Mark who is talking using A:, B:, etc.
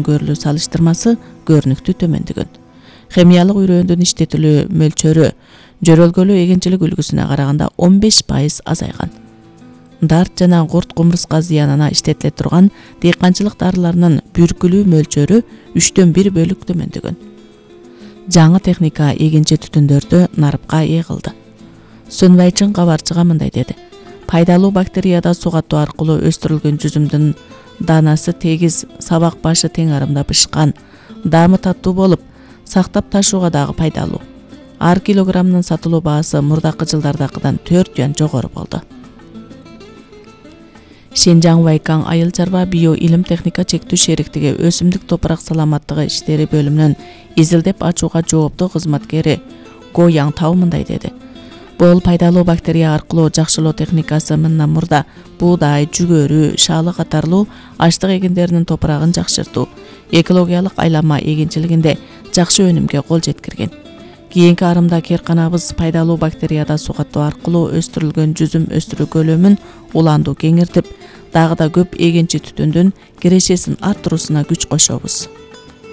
A: көрүлүү салыштырмасы көрүнүктүү төмөндөгөн. Химиялык үрөөндүн иштетилүү мөлчөрү жөрөлгөлүү эгенчилик үлгүсүнө караганда 15% азайган. Дарт жана курт кумурска зыянына иштетиле турган дыйканчылык дарыларынын бүркүлүү мөлчөрү 1/3 бөлүк төмөндөгөн. Жаңы техника эгенчи түтүндөрдү нарыпка ээ кылды. Сунвайчын кабарчыга мындай деди: пайдалуу бактерияда суг катуу аркылуу өстүрүлгөн жүзүмдүн даанасы тегиз, сабак башы тең арымда бышкан, даамы таттуу болуп, сактап ташууга дагы пайдалуу. Ар килограммдын сатылуу баасы мурдакы жылдардакыдан 4 юан жогору болду. Шенжаң Вайкаң айыл чарба био илим техника чектүү шериктиги өсүмдүк топурак саламаттыгы иштери бөлүмүнүн изилдеп ачууга жооптуу кызматкери Го Яң Тау мындай деди: бул пайдалуу бактерия аркылуу жакшылоо техникасы мындан мурда буудай, жүгөрү, шаалы катарлуу ачтык эгиндеринин топурагын жакшыртуу, экологиялык айланма эгенчилигинде жакшы өнүмгө кол жеткирген. Кийинки арымда керканабыз пайдалуу бактерияда суг катуу аркылуу өстүрүлгөн жүзүм өстүрүү көлөмүн уланду кеңиртип, дагы да көп эгенчи түтүндүн кирешесин арттыруусуна күч кошобуз.